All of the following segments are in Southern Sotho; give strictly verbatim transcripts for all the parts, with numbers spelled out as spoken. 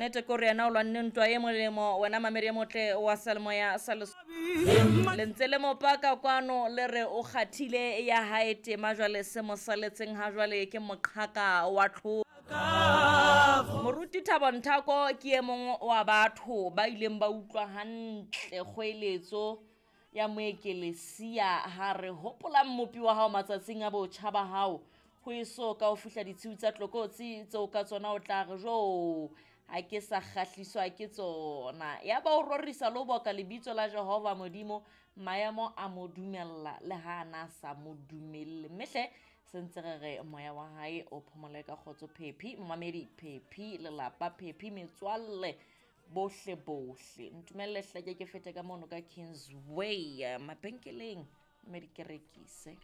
Nnete ke hore yena o lwanne ntwa e molemo, wena mamedi e motle wa Salemoya sa Lesotho. Le ntse le mo paka kwano le re o kgathile ya hae tema, jwale se mo saletseng ha jwale ke moqhaka wa tlholo. Moruti Thabo Nthako ke e mong wa batho ba ileng ba utlwa hantle kgoeletso ya moekelesia ha re hopola mmopi wa hao matsatsing a botjha ba hao, ho eso ka ho fihla ditshiu tsa tlokotsi tseo ka tsona o tla re jo ha ke sa kgahliswa ke tsona. Ya ba o rorisa le ho boka lebitso la Jehova Modimo, maemo a mo dumella le ha ana sa mo dumelle. Mme hle se ntse re re moya wa hae o phomole ka kgotso. Phephi momamedi, phephi lelapa, phephi metswalle bohle bohle. Ntumelle hle ke ke fete ka mono ka Kingsway mabenkeleng mme di ke rekise.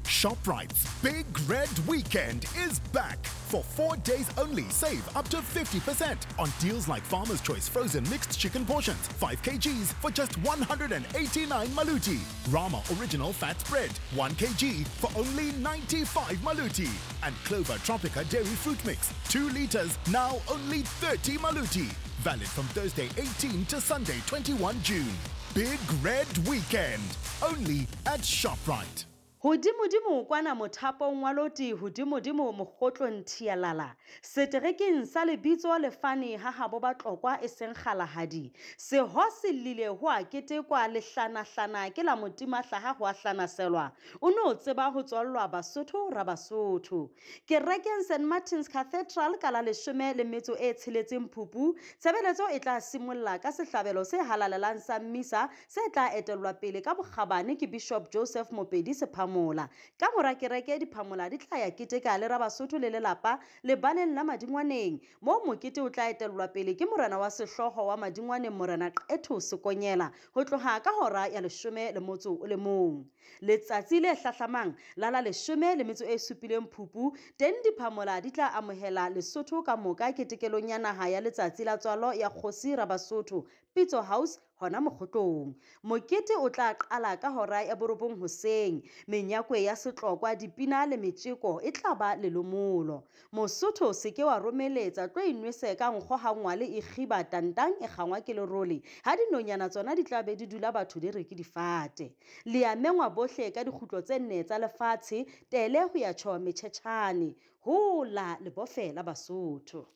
ShopRite's Big Red Weekend is back. For four days only, save up to fifty percent on deals like Farmer's Choice frozen mixed chicken portions, five kilograms for just one hundred eighty-nine maluti. Rama Original Fat Spread, one kilogram for only ninety-five maluti. And Clover Tropica Dairy Fruit Mix, two liters, now only thirty maluti. Valid from Thursday eighteenth to Sunday twenty-first June. Big Red Weekend, only at ShopRite. Hodimodimo kwana mothapong wa loti, hodimodimo mokgotlong thialala. Seterekeng sa lebitso lefane ha habo ba Tlokwa e seng kgalahadi. Seho se llile ho a ketekwa lehlanahlana ke la motima hlaha ho a hlanaselwa. O no tseba ho tswallwa Basotho ra Basotho. Kerekeng Saint Martin's Cathedral ka la leshome le metso e tsheletseng Phupu, tshebeletso e tla simolla ka sehlabelo se halalelang sa mmisa se tla etellwa pele ka bokgabane ke Bishop Joseph Mopedi Sepha. Mola. Ka mora kereke diphamola di tla ya keteka le Rabasotho le lelapa lebaleng la Madingwaneng, moo mokete o tla etellwa pele ke morena wa sehlooho wa Madingwaneng Morena Qetho Sekonyela ho tloha ka hora ya leshome le motso o le mong. Letsatsi le hlahlamang la la leshome le metso e supileng Phupu, teng diphamola di tla amohela Lesotho ka moka ketekelong ya naha ya letsatsi la tswalo ya kgosi Rabasotho Pitso House hona mokgotlong. Mokete o tla qala ka hora ya borobong hoseng. Menyakwe ya setlokwa, dipina le metjeko e tla ba lelomolo. Mosotho se ke wa romeletsa, tlo inwese ka nkgo ha ngwale e kgiba tantang e kgangwa ke lerole. Ha dinonyana tsona di tla be di dula batho di re ke difate. Le a mengwa bohle ka dikgutlo tse nne tsa lefatshe, tele ho ya tjho metjhetjhane. Hola lebofe la Basotho.